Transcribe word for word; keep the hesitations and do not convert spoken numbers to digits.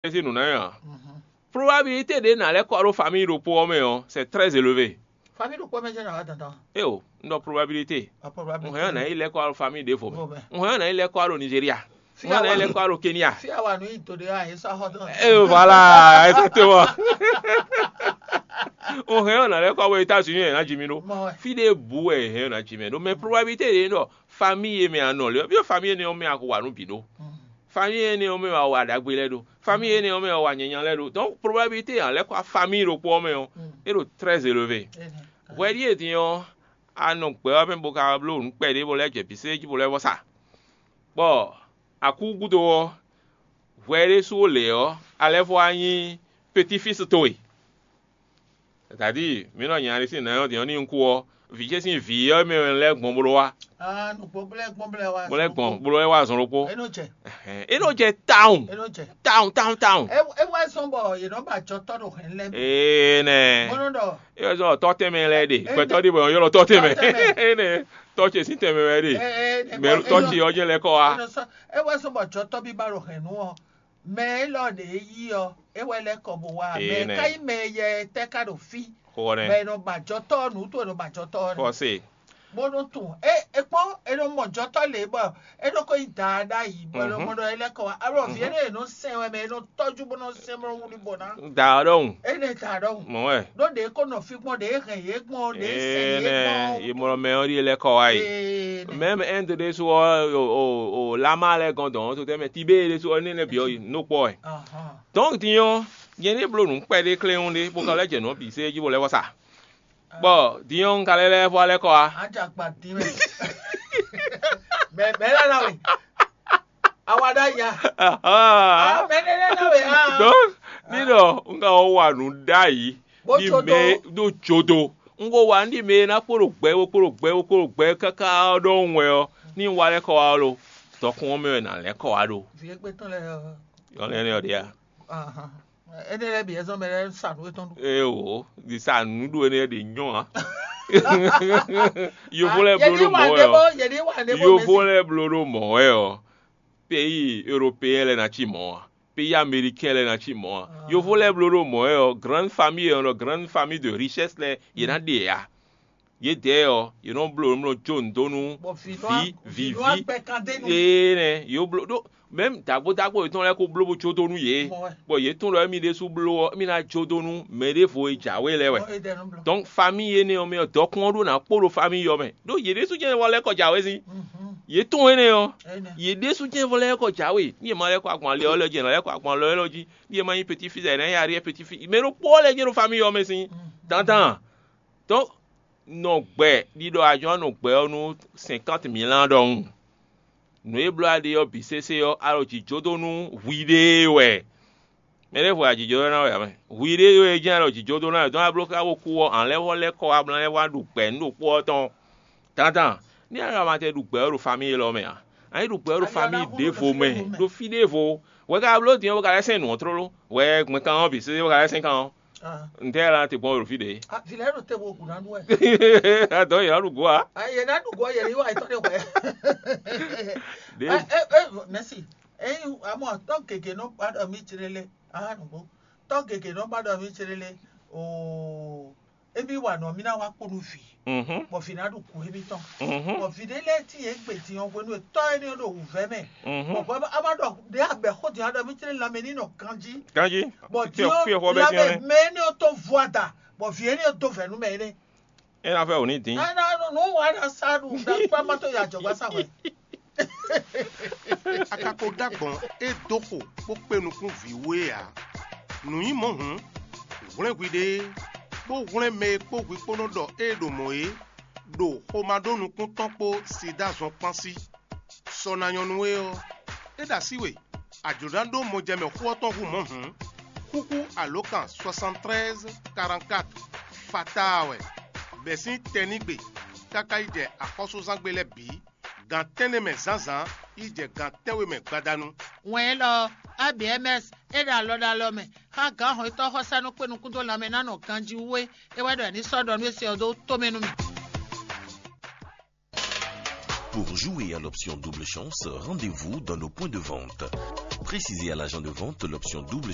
É sí nǔ ná nyí ǎ. Probabilité ɖě nǎ lɛ́ kɔ wá ɖo famille ɖokpó ɔ́ mɛ ɔ́, c'est très élevé. Famille ɖokpó mɛ jɛ́n ná wá dandan. Éyo, un ɖɔ probabilité. Un hɛn ɔ́ nǎ yi lɛ́ kɔ wá ɖo famille ɖěvo mɛ. Un hɛn ɔ́ nǎ yi lɛ́ kɔ wá ɖo Nigeria. Un hɛn ɔ́ nǎ yi lɛ́ kɔ wá ɖo Kenya. Fí awa nú yí to ɖé wá yě sá xɔ dɔn. Éyo, voilà, exactement. Un hɛn ɔ́ nǎ lɛ́ kɔ wá ɖo États-Unis, ɛ ná ji mì ɖó. Fí ɖěbǔ wɛ è hɛn ɔ́ ná ji mɛ ɖó. Mais probabilité ɖě nɔ famille e mɛ a nɔ lě ɔ́, byɔ́ famille énɛ́ ɔ́ mɛ a xo wa nú bǐ ɖó. Famille énɛ́ ɔ́ mɛ wɛ a wa ɖagbe lɛ́ɛ ɖó. Famille énɛ́ ɔ́ mɛ wɛ a wa nyanya lɛ́ɛ ɖó. Donc probabilité a lɛ́ kɔ wá famille ɖokpó ɔ́ mɛ ɔ́, é ɖo très élevé. Hwɛ ɖíe din ɔ́, a nɔ gbɛ ɔ́ mɛ bó ka bló nǔ kpɛɖé bó lɛ́ jɛ bǐsé jí bó lɛ́ vɔ sa. Bɔ a kú gúdo ɔ́, hwɛ ɖésú lě ɔ́, a lɛ́ vɔ wá nyí petit-fils towe. C'est-à-dire, mǐ nɔ nya ɖé sín nǎ nyɔ́ din ɔ́, ní un kú ɔ́, vǐ ce sín vǐ ɔ́ mɛ wɛ lɛ́ gbɔn bó lɔ́ wá. Ah, nǔgbó bó lɛ́ gbɔn bó lɛ́ wá. Bó lɛ́ gbɔn bó lɔ́ wá zɔn ɖokpó. É nɔ jɛ. Ɛhɛn, é nɔ jɛ tawun. É nɔ jɛ. Tawun, tawun, tawun. É é wá zɔn bɔ yě nɔ ba jɔtɔ́ ɖo hɛn lɛ́ɛ mɛ. Ee nɛ. Bó nɔ ɖɔ. É wá zɔn tɔ́ tɛnmɛ lɛ́ɛ ɖe. Gbɛtɔ́ ɖé bɔ yɔ́ lɔ tɔ́ tɛnmɛ. Tɔ́ tɛnmɛ. É nɛ. Tɔ́ ce sín tɛnmɛ wɛ ɖe. Mɛ tɔ́ ce ɔ́ jɛ lɛ́ kɔ wá. É wá zɔn bɔ jɔtɔ́ bí ba ɖo hɛn nú ɔ. Mɛ élɔ́ ɖě yí ɔ́, é wɛ lɛ́ kɔ bó wá. Mɛ Énɛ́. Ka nyí mɛ yɛ tɛ́ ka ɖo fí? Xó ɔ́ nɛ́. Mɛ è nɔ ba jɔtɔ́ ɔ́, nǔ to è nɔ ba jɔtɔ́ ɔ́ nɛ́. Fɔ́sé. Bó nɔ tunwun. É é kpɔ́n, è nɔ mɔ jɔtɔ́ lě bɔ é nɔ ko nyí daa ɖ'ayǐ, bɔ è nɔ mɔ ɖɔ é lɛ́ kɔ wá. Alɔ vǐ énɛ́ è nɔ sɛn wɛ mɛ, è nɔ tɔ́jú bó nɔ sɛn bó nɔ wlí bɔ ná. Da ɔ́ ɖɔhun. Énɛ́ da ɖɔhun. Mɔ̌ wɛ. Ɖó ɖě ko nɔ fí gbɔn, ɖě hɛn yě gbɔn, ɖě sɛn yě Énɛ́, gbɔn. Yě mɔ mɛ ɔ́ ɖíe lɛ́ kɔ wá yi. Énɛ́. Même Inde ɖésú ɔ́, o o o Lama lɛ́ɛ gɔ́n dɔn ɔ́, to tɛ́ mɛ Tibée ɖésú ɔ́, énɛ́ lɛ́ɛ bǐ ɔ́ yi nǔ kpɔ́ wɛ. Ahán. Donc din ɔ́, nyɛ ní bló nǔ kpɛɖé kléwún ɖé, bó ka lɛ́ jɛ nǔ ɔ́ bǐ sé jí bó lɛ́ vɔ sa. Bɔ din ɔ́, un ka lɛ́ lɛ́ vɔ lɛ́ kɔ wá. Ajakpa dín mɛ. Mɛ mɛ lɛ na we. Awa ɖa ya. Ahán. Mɛ lɛ lɛ na we. Ah. Donc ní ɖɔ un ka wɔ wa nǔ ɖ'ayǐ. Bó ní jó mɛ dó. Ɖó jodo. Un ko wa ní mɛ ná kpó ɖo gbɛ, kpó ɖo gbɛ, kpó ɖo gbɛ káká ɔ́ ɖɔhun wɛ ɔ́, ní un wa lɛ́ kɔ wá ɔ́ lo, dɔkun ɔ́ mɛ wɛ nǎ lɛ́ kɔ wá ɖo. Vǐ égbé tɔn lɛ́ɛ ɔ́. Yɔ lɛ́ɛ nɛ́ ɔ́ ɖe a? Ahan. Énɛ́ lɛ́ɛ bǐ wɛ zɔ́n mɛ lɛ́ɛ sa nǔ étɔn ɖu. Ée o, ɖi sa nǔɖuɖu énɛ́ ɖě nyɔ́ ǎ. Yovo lɛ́ɛ bló ɖó mɔ̌ wɛ ɔ́. Yovo lɛ́ɛ bló ɖó mɔ̌ wɛ ɔ́, pays européen lɛ́ɛ ná cí mɔ̌ ǎ. Pays américain lɛ́ɛ ná cí mɔ̌ ǎ. Yovo lɛ́ɛ bló ɖó mɔ̌ wɛ ɔ́, grande famille ɔ́, grande famille de richesse lɛ́ɛ yě ná ɖe ǎ. Yědɛɛ ɔ́, yě nɔ bló nǔ jó nǔ dó nú Bɔ vǐ nɔ vǐ, vǐ, vǐ nɔ vǐ. Agbɛ kan dé nú. Ee nɛ, yě bló ɖó mɛ̌m dǎgbó dǎgbó yětɔn lɛ́ɛ kó bló bó jó dó nú yě. Mɔ wɛ. Bɔ yě tunwun ɖɔ émí ɖésú bló ɔ́, émí ná jó dó nú mɛ ɖěvo e jǎwe lɛ́ɛ wɛ. Mɔ édɛɛ nɔ bló. Donc famille énɛ́ ɔ́ mɛ ɔ́, dɔkun ɔ́ ɖó ná kpó ɖo famille ɔ́ mɛ. Ɖó yě ɖésú jɛ́n vɔ lɛ́ kɔ jǎwe sín. Mhm. Yě tunwun énɛ́ ɔ́, Énɛ́. Yě ɖésú jɛ́n vɔ lɛ́ kɔ jǎwe. Ní yě ma lɛ́ kɔ agban ali ɔ́ lɛ́ jí, yě ná lɛ́ kɔ agban ali ɔ́ lɛ́ jí. Ní yě ma nyí petit fils, yě ná nyí arrière petit fils. Mɛ ɖokpó ɔ́ lɛ́ jɛ́n ɖo famille ɔ́ mɛ sín. Mhm. Dandan. Donc nɔ gbɛ ɖiɖɔ ajɔ̌ nɔ gbɛ ɔ́ nú cinquante mille ɖɔhun. Nǔ e bló a ɖe ɔ́ bǐ sésé ɔ́, a ɖo jǐ jó dó nú hwiɖée wɛ. Mɛ ɖěvo ajǐjó ná wɛ ǎ mɛ. Hwiɖée wɛ jɛ́n a ɖo jǐ jó dó ná wɛ, dɔn a bló ká bó kú ɔ́, a lɛ́ vɔ lɛ́ kɔ wá bló lɛ́ wá ɖu gbɛ nǔ ɖokpó ɔ́ tɔn. Dandan, ní a ɖo amatɛ ɖu gbɛ ɔ́ ɖo famille élɔ́ mɛ ǎ. A nyí ɖu gbɛ ɔ́ ɖo famille ɖěvo mɛ, ɖo fí ɖěvo. Hwɛ ka bló din ɔ́, bó ka lɛ́ sɛn nǔ ɔ́ tlóló. Hwɛ gbɛn kan ɔ́ bǐ sésé bó ka lɛ́ sɛn kan ɔ́. Ah. Ntɛ́ la te gbɔn ɖo fí ɖě? Ah, vǐ lɛ́ɛ ɖo te bo gǔ ná ɖu wɛ. Adɔ̌ yě ná ɖu gǒ ǎ. Ah, yě ná ɖu gǒ ɔ́, yě ní wa yětɔn ɖé hwɛ. Ɖě Eh, eh, eh, merci. Eh, amɔ tɔn gègé nɔ ba ɖɔ mí jlélé. Ah, nùgbó. Tɔn gègé nɔ ba ɖɔ mí jlélé. Oh, émi wa nɔ mí ná wá kpó nú vǐ. Mhm. Bɔ vǐ ná ɖu gǔ émítɔn. Mhm. Bɔ vǐ ɖé lɛ́ɛ tíin é gbe din ɔ́ hwenu e tɔ́ énɛ́ ɖo wǔvɛ́ mɛ. Mhm. Bɔ bɔ a ma ɖɔ ɖě abɛ xó din ɔ́ ɖɔ mí jlé lanmɛ ní nɔ ganjí. Ganjí. Bɔ Fí din ɔ- ɔ́ fí ɔ́ xɔ bɛ lanmɛ dín ɔ́ nɛ́. Mɛ énɛ́ ɔ́ tó vɔ ada. Bɔ vǐ énɛ́ ɔ́ dó vɛ̌ nú mɛ énɛ́. É ná vɛ wǒ ní dín. Ena nú wàá na sá ɖu ɖa kpá má tó ya jɔ̌gbá sá hwɛ. A ka ko ɖó agbɔ̌n e dó xo bó kpé nukún vǐ we ǎ. Nǔ nyí mɔ̌ hǔn, hwlɛ́n hwiɖée, bó hwlɛ́n mɛ e kpó hwi kpó nɔ ɖɔ ée ɖo mɔ̌ é, ɖo xomá ɖó nukún tɔn kpó sida zɔn kpán sí. Sɔ ná nyɔ́ nú we ɔ́, é ɖo así we, a jlǒ ná ɖó mɔjɛmɛ xó ɔ́ tɔn hú mɔ̌ hǔn, xúxú alǒkan soixante-treize quarante-quatre fataa wɛ, bɛ̌ sín tɛnígbe káká yi jɛ axɔ́súzángbe lɛ́ɛ bǐ, gan tɛ́nnɛ mɛ zǎnzǎn yi jɛ gan tɛ́nwe mɛ gbadanu. Wɛn élɔ́ ɔ́, A B M S é ɖo alɔ ɖo alɔ mɛ xá gǎn hɔnnyitɔ́ xɔsánú kpé nukún dó lanmɛ ná nɔ ganjí wú é. É wɛ ɖɔ è ní sɔ́ ɖɔ nú é se ɔ́ dó tomɛ nú mì. Pour jouer à l'option double chance, rendez-vous dans nos points de vente. Précisez à l'agent de vente l'option double